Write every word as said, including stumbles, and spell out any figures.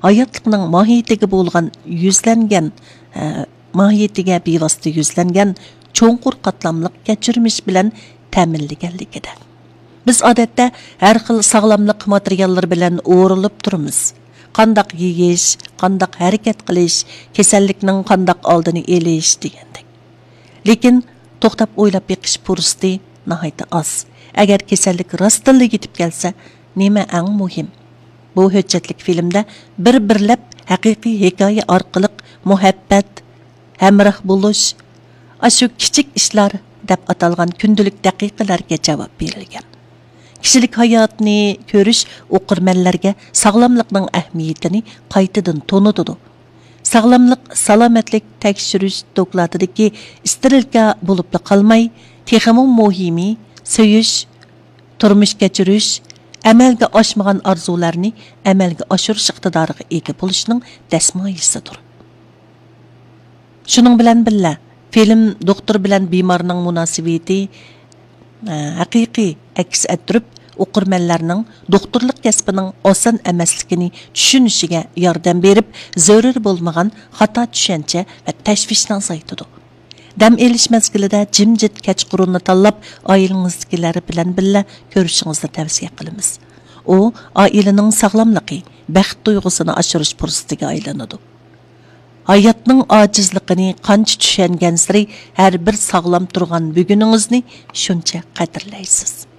ھاياتلىقنىڭ ماھىيىتىگە بولغان يۈزلەنگەن، ئە، ماھىيىتىگە بىۋاسىتە يۈزلەنگەن چوڭقۇر قاتلاملىق كەچۈرمىش بىلەن تەمىنلىگەنلىكىدە. بىز ئادەتتە ھەر خىل ساغلاملىق ماتېرىياللىرى بىلەن ئورىلىپ تۇرىمىز. قانداق يېيىش، قانداق ھەرىكەت قىلىش، كېسەللىكنىڭ قانداق ئالدىنى ئېلىش دېگەندەك. لېكىن توختاپ ئويلاپ بېقىش پۇرسىتى ناھايىتى ئاز. ئەگەر كېسەللىك راستتىنلا يېتىپ كەلسە، نېمە ئەڭ مۇھىم؟ بۇ ھۆججەتلىك فىلىمدە بىر-بىرلەپ ھەقىقىي ھېكايە ئارقىلىق مۇھەببەت، ھەمراھ بولۇش، ئاشۇ كىچىك ئىشلار دەپ ئاتالغان كۈندىلىك دەقىقىلەرگە جاۋاب بېرىلگەن. كىشىلىك ھاياتنى كۆرۈش ئوقۇرمەنلەرگە ساغلاملىقنىڭ ئەھمىيىتىنى قايتىدىن تونۇتىدۇ. ساغلاملىق، سالامەتلىك تەكشۈرۈش دوكلاتىدىكى ئىستېرىلكا بولۇپلا قالماي، تېخىمۇ مۇھىمى، سۆيۈش، تۇرمۇش كەچۈرۈش، ئەمەلگە ئاشمىغان ئارزۇلارنى ئەمەلگە ئاشۇرۇش ئىقتىدارىغا ئىگە بولۇشنىڭ دەسمايىسىدۇر. شۇنىڭ بىلەن بىللە، فىلىم دوختۇر بىلەن بىمارنىڭ مۇناسىۋىتى، ئە، ھەقىقىي ئەكس ئەتتۈرۈپ، ئوقۇرمەنلەرنىڭ دوختۇرلۇق كەسپىنىڭ ئاسان ئەمەسلىكىنى چۈشىنىشىگە ياردەم بېرىپ، زۆرۈر بولمىغان خاتا چۈشەنچە ۋە تەشۋىشنى ئازايتىدۇ. دەم ئېلىش مەزگىلىدە جىمجىت كەچقۇرۇننى تاللاپ، ئائىلىڭىزدىكىلەر بىلەن بىللە كۆرۈشىڭىزنى تەۋسىيە قىلىمىز. ئۇ ئائىلىنىڭ ساغلاملىقى، بەخت تۇيغۇسىنى ئاشۇرۇش پۇرسىتىگە ئايلىنىدۇ. ھاياتنىڭ ئاجىزلىقىنى قانچە چۈشەنگەنسېرى، ھەر بىر ساغلام تۇرغان بۈگۈنىڭىزنى شۇنچە قەدىرلەيسىز.